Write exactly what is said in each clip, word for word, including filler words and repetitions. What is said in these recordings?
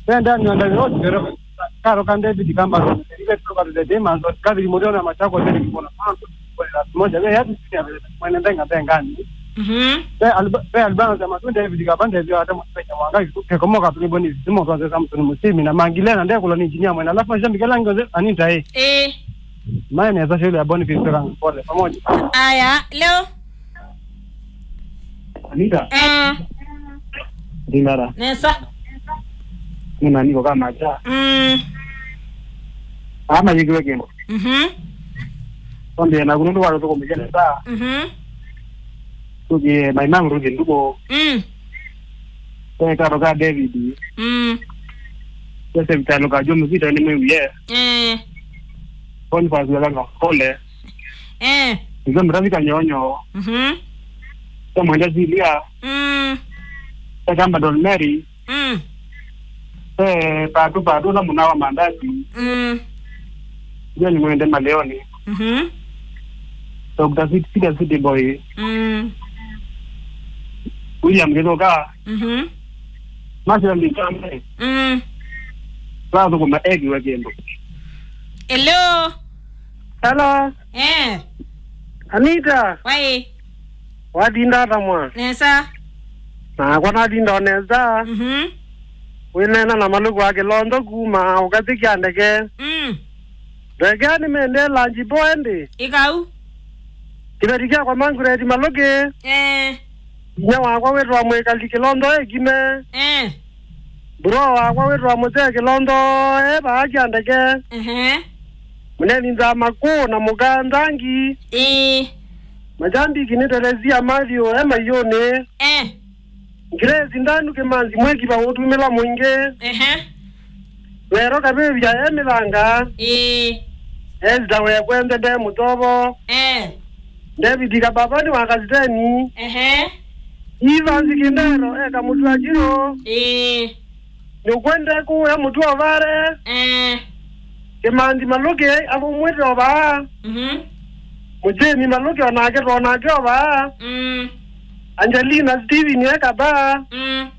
Then Daniel Ndagĩro Kĩrero, Karo ka David Kamba, David Robert the Demons, David Muriona Machako, David Mwana Mwanzo, Mwana Moja, we hatu sini ya mwene ndenga ndenga ni. Mhm. Pe alba-, pe albana za matunda David Kabanda, David Adam, Penya Mwanga, Kekomoka, Tuli Boni, Simo, Twaze Samson Musimi, na Mangile, na Ndekula ni engineer mwene, alafu mashabiki lango ze, Anita, eh. Eh. Maana ya shule ya Boni Fitzgerald, pole, pamoja. Aya, leo. Anita. Eh. Dinara. Nesa. Muna niko kama cha. Mm. Ama yikiwe kembo. Mhm. Onde na kunundu watu tuko mjana sa. Mhm. Tuki my mom ruzi nduko. Mm. Kwa karo ka David. Mm. Kwa se vitalo ka Jomo Zita ni mwe ye. Eh. Boniface Wekanga Kole. Eh. Izo mrafika nyonyo. Mhm. Kwa mwenda Zilia. Mm. Kwa kamba Don Mary. Mm. Eh, patu patu na muna wa mandazi. Mm. John Mwende Maleoni. Mhm. Doctor City, City, City Boy. Mm. William Githuka. Mhm. Marcel Michambe. Mm. Sasa kuma egi wa kendo. Hello. Hello. Eh. Anita. Wai. Watinda ata mwa? Nesa. Nakwa natinda o nesa. Mhm. Wĩneena na Malũkũ wa Kĩlondo kuma ũkathi kya ndeke. Mm. Ndeke nĩmendee lanji boe ndi. Ikau. Kĩveti kyakwa Mangureti Malũkĩ. Eh. Inya wakwa wĩtwa Mwĩkali Kĩlondo ekime. Eh. Bro wakwa wĩtwa Mũsee Kĩlondo e vaa kya ndeke. Ehe. Mũneni Nzama kũ na mũka Nzangi. Ĩĩ. Majambiki nĩ Teresia Matthew e maiũnĩ. Eh. Grace Ndanu Kĩmanzi mwĩkiva ũtumĩla mũingĩ. Ehe. Wero Kavĩvya e mĩthanga. Ĩĩ. Esther Wekwende nde mũtovo. Eh. David Kababani wa Kasiteni. Ehe. Evans Kindero e Kamũtua Kiro. Ĩĩ. Nĩũkwende kũya mũtũ ovale. Eh. Kĩmanthi Malũkĩ avumwĩte ovaa. Mhm. Mũjeni Malũkĩ onake twonake ovaa. Mm. Angelina Steven e Kabaa. Mm.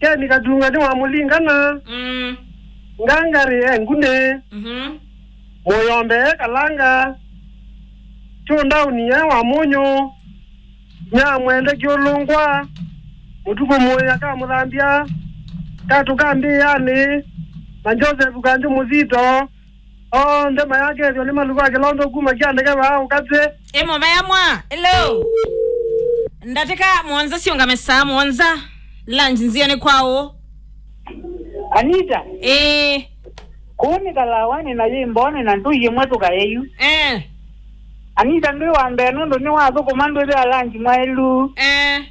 Keni Katunga nĩ wa Mũlingana. Mm. Ngangari e Ngunĩ. Mhm. Mũyombe e Kalanga. Chundauni e wa Mũnyũ. Nyamwende Kĩũlũngwa, Mũtukũ Mũĩ akamũthambya, Katũ ka Mbĩanĩ, na Joseph Kanjũ Mũthito, onthe mayakethw'a nĩ Malũkũ wa Kĩlondo kuma kya ndeke vaa ũkatĩ. Ĩ mũvea mwa, hello. Ndatĩka mũonza siũngame saa mũonza, lunch nzĩanĩ kwaũ? Anita. Ĩĩ. Kũu nĩ Kalawanĩ na yĩ Mbonĩ na ndũi ĩmwe tũkaeyu. Eh. Anita ndwĩ wa mbee nũndũ nĩwathũkũma ndwĩthĩa lanji mwaĩlu. Eh.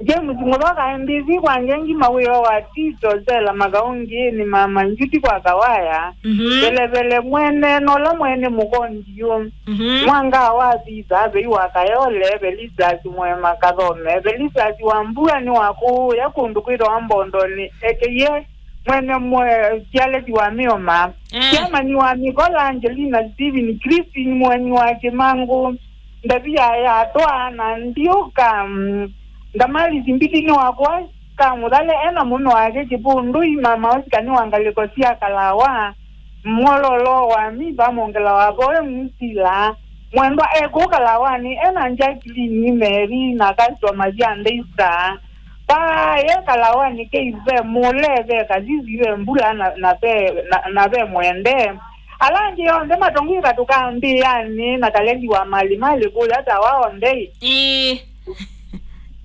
James Mũthoka M B C kwa Ngengi mawĩo wa Tito Sela Makaũngĩnĩ mama Njuti kwa Kawaya. Mhm. Velevele mwene nola mwene mũkondiũ. Mhm. Mwanga wa Thitha vei wa Kayole, Velistas Mwema Kathome, Velistas wa Mbua nĩ wa kũũya kũndũ kwĩtawa Mbondonĩ, ekeiye mwene mwe Kialeti wa Mĩoma, eh, Kiamani wa Mĩkola, Angelina Steven, Christine Mweni wa Kĩmangũ, Ndavia ya Atwa na Ndiũka, mm, Ndamali Simbiti nĩ wakwa ka Mũthale, ena mũno wake Kĩpũndũi, mama Oscar nĩ wa ngalĩko sya Kalawa, Mwololo wa Miva, Mongela wa Voe, Musila, Mwendwa e kũu Kalawanĩ, ena Jacqueline, Mary, na customer sya Ndeisa. Vaa ye Kalawanĩ, Kei ve Mũle, ve Kasisi, ve Mbula, na, na ve, na, na ve Mwende. Ala angĩ onthe matongwĩka tũkambĩanĩ na Kalendi wa Mali Mali kũya ta wao ndei. Ĩĩ.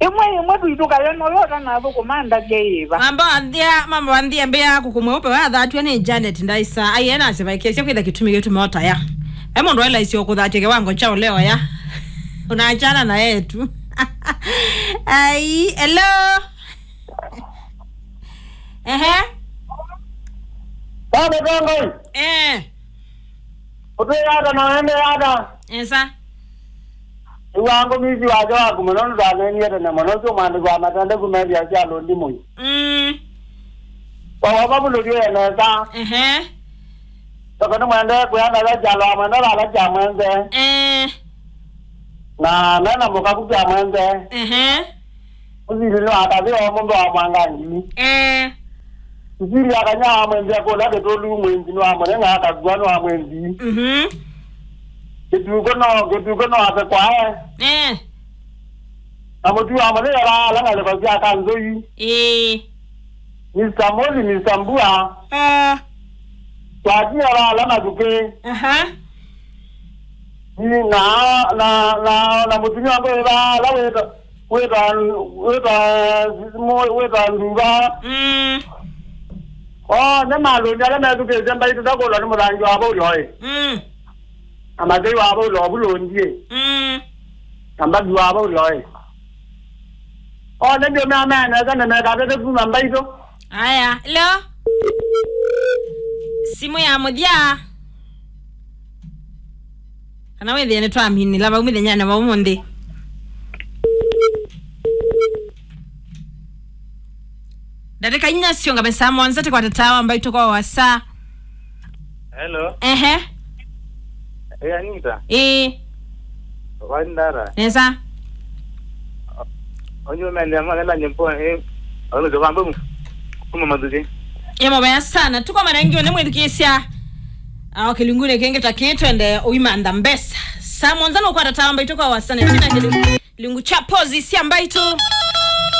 Ĩmwe ĩmwe tũitũkale nolo ũtanathũkũma ndavya ĩva. Mamba wanthia, mamba wanthia mbĩa kũkũ mweupe wathatw'a nĩ Janet Ndaisa. Aiye nasye vaikĩsya kwĩtha kĩtumi gĩtuma ũtaya. E mũndũ aĩla isio kũthatya kĩwango kya ũleo ya. Unaachana na yetu. Ai, hello. Ehe. Baba Tongai. Eh. Ũtwĩe ata na wende ata? Esa. Nĩw'aa ngũmĩĩsĩ wasya waku mũno nũtaneenie tene mũno, ũsu mwandĩki wa matendekũ methĩa sya lũndi mũi. Mm. Kwa wova vulũlyo ye nesa. Ehe. Toko nĩmwendee kwĩa nesa kyalo wa mwenda vala kya mwenze. Eh. Na mena mũkaku kya mwenze. Ehe. Ũsili nĩ wa kathĩ o mũndũ wa mwangangi. Eh. Sisili akanya wa mwenzi akũla kĩtũlu mwenzi nĩ wa mũnene akakua nĩ wa mwenzi. Mhm. Kĩtuko no, kĩtuko no ake kwae. Eh. Na mũtu wa mũnene ala ala ngalĩko sya kanzũi. Eh. Mister Moli, Mister Mbua. Ah. Twatia ala ala mathukĩ. Aha. Ĩ, na, na, na, na mũtumia wakwa wĩ vaa, ala wĩta, wĩta, wĩta, wĩta nduva. Mm. O, nĩ malũni ala methukĩĩsye mbaitũ takũlwa nĩ mũthangi wa Vaulo ĩ. Mm. Na mathei wa Vaulo ovulũndie. Mm. Na mbathi wa Vaulo ĩ. O, nĩ ndio mea mea nesa nĩ mekatete kuma mbaitũ. Aya, hello. Simu ya mũthya. Kana wĩthĩe nĩtwaminĩla vau mũthenyanĩ wa ũmũnthĩ. Ndatĩka inya syongame saa mũonza tĩkwata tawa mbaitũ kwa wasa. Hello. Ehe. Hey, Anita. Ĩĩ. Wandara. Nesa. Onye umeendea mwana la nyimbo, eh, ono zobambo kuma mathukĩ. Ĩmwe vaya sana. Tuko marangi one mwĩthukĩĩsya. Ah, okay, kĩlungunĩ kĩngĩ ta kĩĩ twende ũimantha mbesa. Saa mũonza nũkwata tawa mbaitũ kwa wasa nĩ tina kĩlungu. Kĩlungu kya pozi sya mbaitũ.